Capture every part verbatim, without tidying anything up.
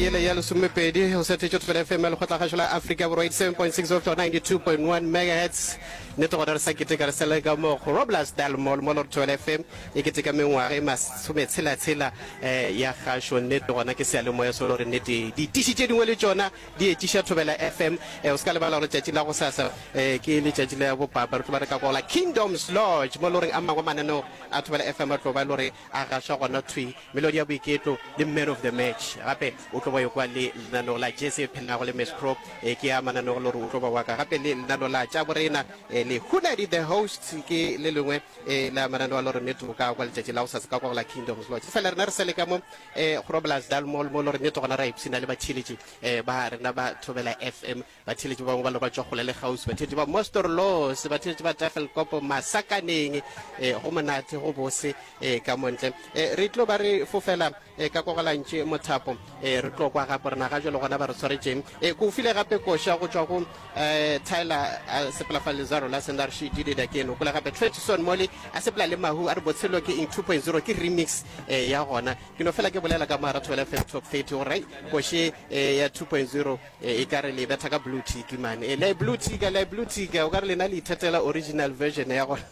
yele ya lesomepedi o sethetše Thobela F M ya Lekgotlakgašo la Afrika Borwa eighty-seven point six go fihla go ninety-two point one megahertz. Nnete gona re sa keteka re sa le ka mo Groblersdal Mall mo le gore Thobela F M e keteka mengwaga e masometshela-tshela eh, ya kgašo. Nnete gona ke seyalemoya se le gore nnete ditiši tše dingwe le tšona di etiša Thobela F M. Eh, o se ka lebala gore letšatši la gosasa eh, ke letšatši la bopapa, re tlo ba re ka kwa go la Kingdoms Lodge mo le goreng a mangwe mananeo a Thobela F M a tlo ba e le gore a gašwa gona thwi. Melodi ya boiketlo le Man of the Match gape o tlo ba yo kwa le lenaneo la Jesse e phelago le Miss Pro, eh, ke a mananeo le gore o tlo ba wa ka gape le lenaneo la tša borena, eh, le Hunadi the Host ke le lengwe, eh, la mananeo a le gore nnete o ka kwa letšatši la gosasa ka kwa go la Kingdoms Lodge. Fela rena re sele ka mo, eh, Groblersdal Mall mo le gore nnete gona ra ipshina le batheeletši, eh, ba rena ba Thobela F M, batheeletši ba bangwe ba le ba tšwa kgole le kgauswi, batheeletši ba Mosterloos, batheeletši ba Tafelkop, Masakaneng, eh, go monate go bose, eh, ka montle. Eh, re tlo ba re fofela, eh, ka Kogolantše Mothapo, eh, re tlo kwa gape rena ga jwale gona ba re tshwaretšeng. Eh, ko file gape koša go tšwa go, eh, Tyler a sepela fa Lezaro la Sendar she did it again. O kwele gape Tretson Mole a sepela le Mahu a re botshelo ke eng two point zero ke remix, eh, ya gona. Ke no fela ke bolela ka mogara Thobela F M Top thirty gore ai koše, eh, ya two point zero, eh, e ka re le betha ka blue tick man. Eh, le blue tick, le blue tick, o ka re lena le ithatela original version ya gona.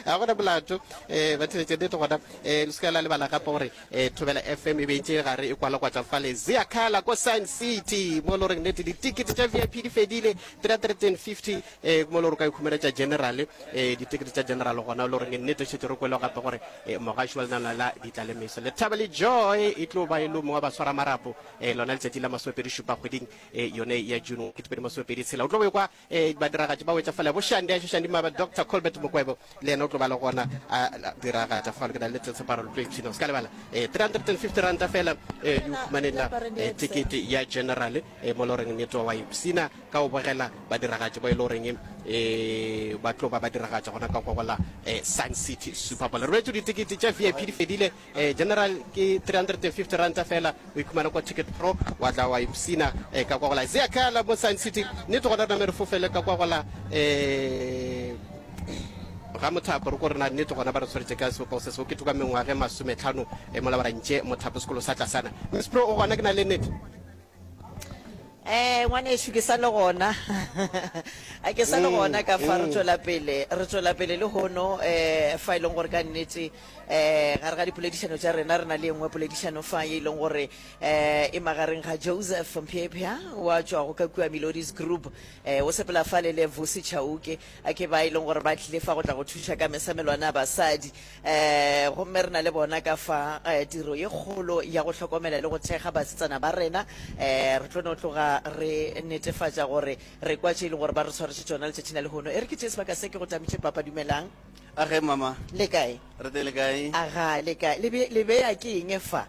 Ga gona molato, eh, ba theletše nnete gona, eh, le se ka la lebala gape gore, eh, Thobela F M e beetše gare e kwalakwatša fale Ziakhala ko Sun City mo le goreng nnete ditikete tša V I P di fedile three hundred and fifty, eh, mo le gore o ka ikhumela tša general, eh, ditikete tša general gona le goreng nnete šetše re kwele gape gore, eh, mogaši wa lenaneo la Ditlalemeso Lethabo le Joy e tlo ba e le mongwe wa baswara marapo, eh, lona letšatši la masomepedi šupa kgweding, eh, yone ya June ketepedi masomepedi tshela. O tlo bo kwa, eh, badiragatši ba wetša fale bo Shandi, a Shandi Maba, Doctor Colbert Mokwebo le yena o tlo ba le gona a diragatša fale. Ke na le tseparo le tlo ipshina, o se ka lebala, eh, three hundred and fifty ranta fela, eh, e o humanela, eh, tekete ya general, eh, mo le goreng nnete wa ipshina ka go bogela badiragatši ba e le goreng, eh, ba tlo ba ba diragatša gona ka kwa go la, eh, Sun City Super Bowl. Re boletše ditekete tša V I P di fedile, eh, general ke three hundred and fifty ranta fela, o ikhumana kwa Ticket Pro wa tla wa ipshina, eh, ka kwa go la Ziakhala mo Sun City. Nnete gona re name re fofele ka kwa go la, eh, ga Mothapo, re ko rena nnete gona ba re tshwaretse ka sebopego se se oketšwe ka mengwaga e masometlhano, eh, mola ba ra ntše Mothapo sekolo sa tlasana. Miss Pro o gona, ke na le nnete. Eh, ngwanešu, ke sa le gona. A ke sa le gona ka fa, re tšwela pele, re tšwela pele le hono, eh, fa e leng gore ka nnete, eh, gare ga dipoledišano tša rena re na le e nngwe poledišano fa ye e leng gore, eh, e magareng ga Joseph Mphephya wa tšwago ka kua Melodies Group, eh, o sepela fale le Vusi Chauke, a ke ba e leng gore ba tlile fa go tla go thuša ka mesamelwana ya basadi. Eh, gomme re na le bona ka fa, eh, tiro ye kgolo ya go hlokomela le go thekga basetsana ba rena. Eh, re tlo no tloga re netefatša gore re kwa tše e leng gore ba re tshwaretše tšona letšatšing la lehono. E re ke tšee sebaka se ke go tamitše papa. Dumelang. A ge mama. Le kae? Re teng le kae? Aga, le kae? Le be, le beya ke eng fa?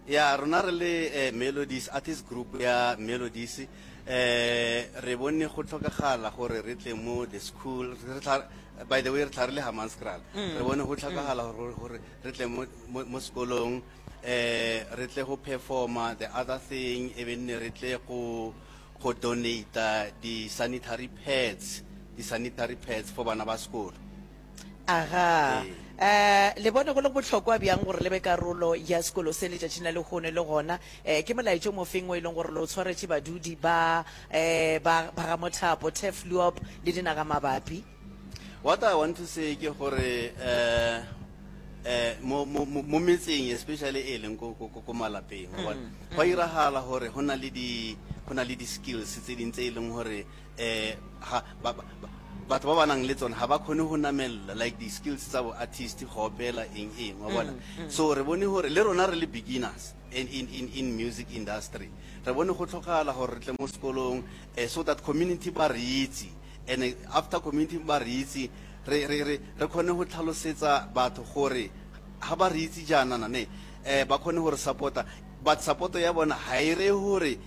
Ya, rona re le, eh, Melodies Artist Group ya Melodies, eh, re bone go tlhokagala gore re tle mo the school, re tla, by the way re tla re le Hammanskraal. Mm. Re bone go tlhokagala gore, gore re tle mo, mo, mo sekolong, eh, re tle go performa. The other thing e be nne re tle go, go donate di sanitary pads, di sanitary pads for bana ba sekolo. Aga. Ee. Eh, le bone go le bohlokwa bjang gore le be karolo ya sekolo se letšatšing la lehono, le gona, eh, ke molaetšo mofeng o e leng gore le o tshwaretše badudi ba, eh, ba, ba ga Mothapo, Turfloop le dinaga mabapi? What I want to say ke gore, eh, eh, mo, mo, mo, mo metseng especially e leng ko, ko, ko, ko malapeng, wa bona, Mm, go mm. iragala gore go na le di, go na le di skills tse ding tse e leng gore, eh, ga, ba, ba, ba, batho ba ba nang le tsona ga ba kgone go namella, like di skills tsa bo artist, go opela eng eng, wa bona. Mm, mm. So re bone gore le rona re le beginners in, in, in, in music industry, re bone go tlhokagala gore re tle mo sekolong, eh, so that community ba re itse, and after community ba re itse, re, re, re, re kgone go tlhalosetsa batho gore ga ba re itse jaana ne, eh, ba kgone go re support-a, but support ya bona ga e re gore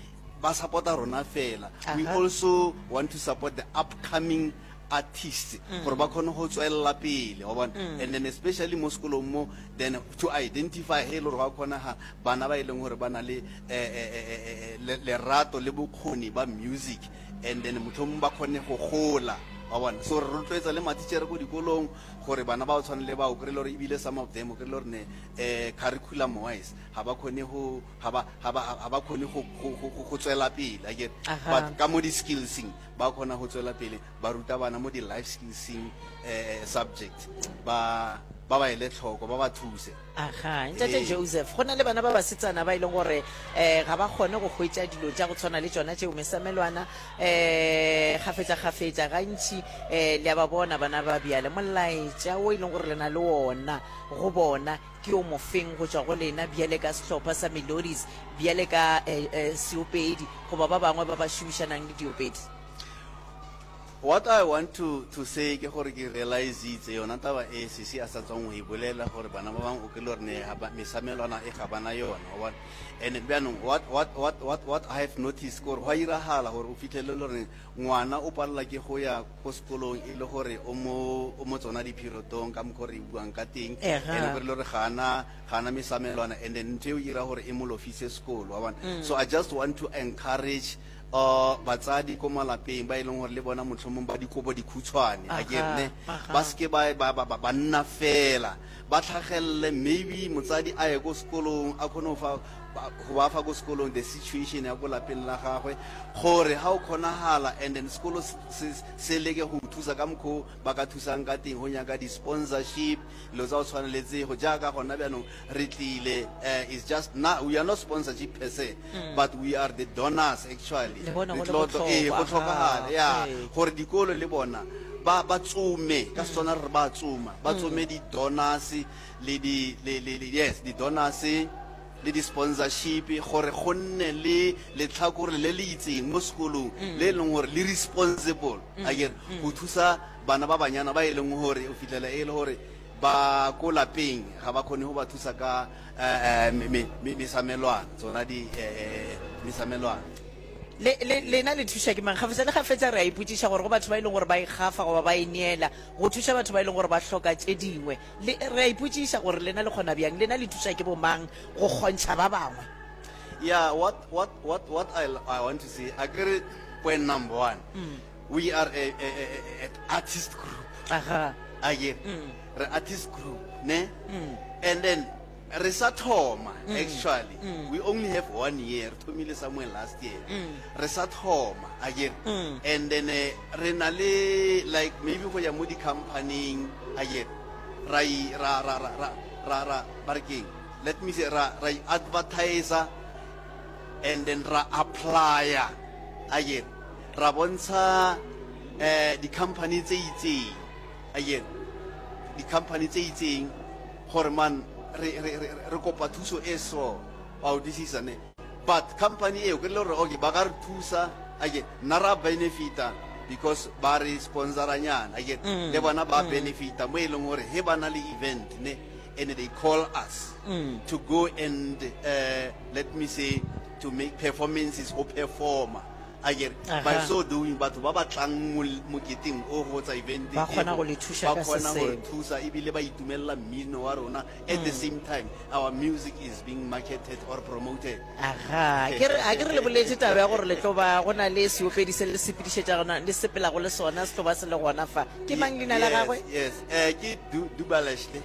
ba support-a rona fela. We Aha. also want to support the upcoming artists Mm. gore ba kgone go tswelela pele, wa bona. Mm. And then especially mo sekolong mo, then to identify he e le gore ba kgonaga bana ba e leng gore ba na le, eh, eh, eh, eh, eh, lerato le bokgoni ba music, and then mohlomong ba kgone go gola. Wa bona, so re rotloetsa le matitšhere ko dikolong gore bana ba o tshwane le bao, kry-e le gore ebile some of them o kry-e le gore ne um curriculum wise ga ba kgone go ga ba ga ba ga ba kgone go go go go tswela pele, akere? Aha. But ka mo di-skillseng ba kgona go tswela pele, ba ruta bana mo di-life skillseng um subject, ba ba ba ele tlhoko, ba ba thuse. Aga, ntate Ee. Joseph, go na le bana ba basetsana ba e leng gore um ga ba kgone go hwetša dilo tša go tshwana le tšona tšeo, mesamelwana um kgafetša-kgafetša gantši. um le a ba bona bana ba bjale, molaetša o e leng gore le na le ona go bona ke o mofeng go tšwa go lena bjale ka sehlopha sa Melodies, bjale ka um um seopedi goba ba bangwe ba ba šomišanang le diopedi? What I want to, to say ke gore ke realizitse yona taba e sisi a sa tswang go e bolela, gore bana ba bangwe o kry-e le gore ne ga ba- mesamelwana e ga bana yona, wa bona. And bjanong what, what, what, what, what I have noticed ke gore go a iragala gore o fitlhelele le gore ngwana o palela ke go ya ko sekolong, e le gore o mo o mo tsona di-periodong ka mokgwa re e buang ka teng. Ega. And o kry-e le gore ga ana ga ana mesamelwana, and then ntho eo e ira gore e mo lofise sekolo, wa bona. So I just want to encourage uh batsadi ko malapeng ba e leng gore le bona motlhomong ba dikobo dikhutshwane, a ke re ne, Aha, aha. ba seke ba ba ba- ba ba nna fela, ba tlhagelele. Maybe motsadi a ye ko sekolong, a kgone go fa ba- go ba fa ko sekolong the situation ya ko lapeng la gagwe, gore ga o kgonagala, and then sekolo se- se se leke go thusa ka mokgwa o ba ka thusang ka teng, go nyaka di-sponsorship, dilo tsa go tshwaneletsego jaaka gona bjanong re tlile. uh, is just na we are not sponsorship per se, but we are the donors actually. Le bona Re go le tlo- tlo- ee, go bohlokwa, tlhokagala aha, ya ee. gore dikolo le bona ba ba tsome, ka Setswana re re ba tsoma, ba tsome di-donors le di le le le- yes, di-donors le di-sponsorship, gore go nne le letlhakore le le itseng mo sekolong le e leng gore le responsible, akere, go thusa bana ba banyana ba e leng gore o fitlhela e le gore ba ko lapeng ga ba kgone go ba thusa ka eh, eh, me- me- me- mesamelwana, tsona di eh, mesamelwana. Le le lena le thuša ke mang gafetsa le gafetsa? Re a ipotšiša gore go batho ba e leng gore ba ikgafa goba ba ineela go thuša batho ba e leng gore ba hloka tše dingwe, le re a ipotšiša gore lena le kgona bjang, lena le thuša ke bomang go kgontšha ba bangwe? Yeah, what what what what I I want to say, agree, point number one. We are a, a, a, a, an artist group. Aga. Again, re artist group, ne? And then re sa thoma actually. We only have one year. Thomile somewhere last year. Re sa thoma again. And then eh, re na le like maybe go ya mo di company again. Ra i- ra ra ra ra ra ra ba re keng? Let me say ra ra advertiser and then ra applya again, ra bontsha eh di-company tse itseng again, di-company tse itseng gore man re re re re kopa thuso e so, wa utlwisisa ne? But company eo ke le gore okay, ba ka re thusa again, nna ra benefita because ba re sponsoranyana again, le bona ba benefita mo e leng gore he ba na le event ne, and they call us to go and uh, let me say to make performances or performer again. By Aha. so doing, batho ba ba tlang mo moketeng o go tsa event Ba kgona eo, go le thusa ba ka se kgona go re sengwe. thusa, ebile ba itumelela mmino wa rona. At the same time, our music is being marketed or promoted. Aga, ke re a ke re le boletse taba ya gore le tlo ba go na le seopedi se le sepedišetša gona, le sepelago le sona, se tlo ba se le gona fa. Ke mang leina la Yes, gagwe? Yes, eh ke Du- dubalesh ne,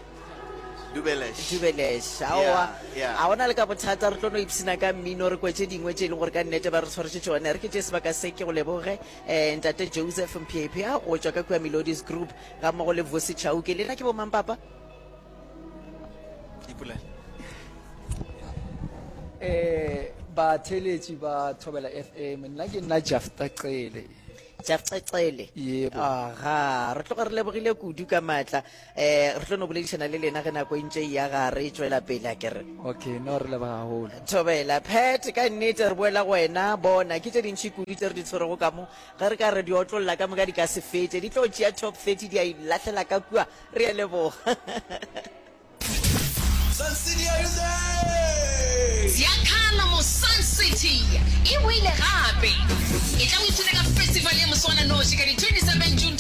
Dubelesh. Dubelesh, aowa. Yeah, yeah. A gona le ka bothata, re tlo no ipsina ka mmino, re kwe tše dingwe tše e leng gore ka nnete ba re tshwaretše tšone. Re ke tše sebaka se ke go leboge, um ntate Joseph Mphiaphia go tšwa ka kua Melodies Group ga mmogo le Vosi Chauke. Lena ke bomang, papa? Ipolele. Eh batheletši ba Thobela F M, nna ke nna Jafta Cele. Jafcecele. Yebo. Aga, re tloga re lebogile kudu ka maatla. um re tlo no boledišana le lena ge nako e ntše e ya gare e tšwela pele, a ke re? Okay, no, re leboga haholo. Thobela Pat, ka nnete re boela go wena. Bona ke tše dintšhi kudu tse re di tshwerego ka mo, ge re ka re di otlolla ka moka di ka se fetše, di tlo tšea top thirty di a ilahlela ka kua. Re a leboga. Sun City, are you there? Ziyakhala mo Sun City e boile gape, e tla o ipshina ka festival ya moswananoši ka di twenty-seven June.